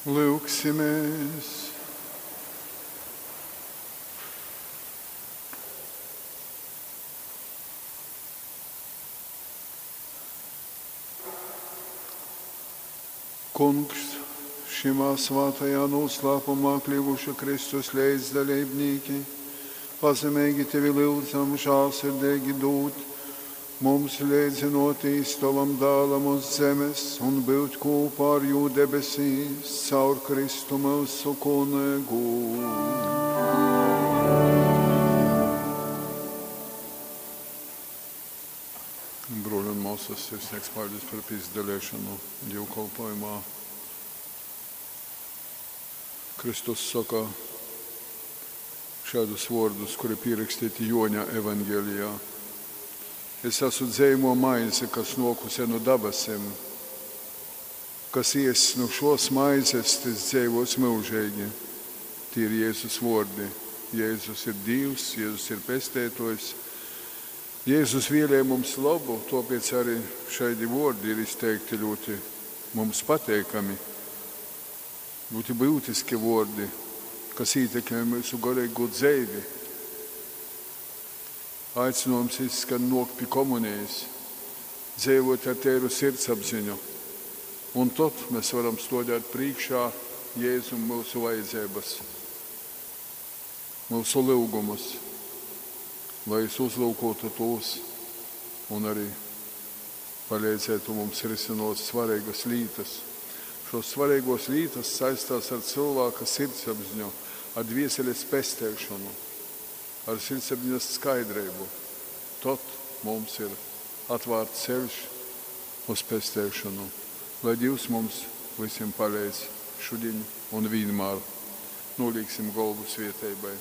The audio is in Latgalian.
Lyugsimēs! Kungs, šymā svātajā nūslāpumā kļuvuši Kristus leidzdaleibnīki, pazemeigi tevi lyudzam žālsirdeigi dūt mums leidzynōtīs tovam dālam uz zemes un byut kūpā ar jū debesīs, caur Kristu myusu Kungu. Bruoli un mōsas, sirsnīgs paļdis par pīsadalēšanu dīvkolpojumā. Kristus soka šādus vōrdus, kuri pierakstīti Joņa evangelijā. Es esmu dzeivō maize, kas nōkuse nu dabasim. Kas iess nu šos maizes, tys dzeivos myužeigi. Tie ir Jēzus vōrdi. Jēzus ir Dīvs, Jēzus ir pesteitojs. Jēzus vēlēja mums labu, tāpēc arī šādi vārdi ir izteikti ļoti mums pateikami, ļoti būtiski vārdi, kas ietekmē mūsu garīgo dzīvi. Aicinājums izskan nok pie komunijas, dzīvot ar tēru sirdsapziņu, un tad mēs varam stādīt priekšā Jēzum mūsu vajadzības, mūsu lūgumus, lai es uzlūkotu tos un arī palīdzētu mums risinot svarīgas lietas. Šos svarīgos lietas saistās ar cilvēka sirdsapziņu, ar dvieseles pestēšanu, ar sirdsapziņas skaidrību. Tad mums ir atvērts ceļš uz pestēšanu. Lai Dievs mums visiem palīdz šodien un vienmēr. Nolīksim galvu svieteibai.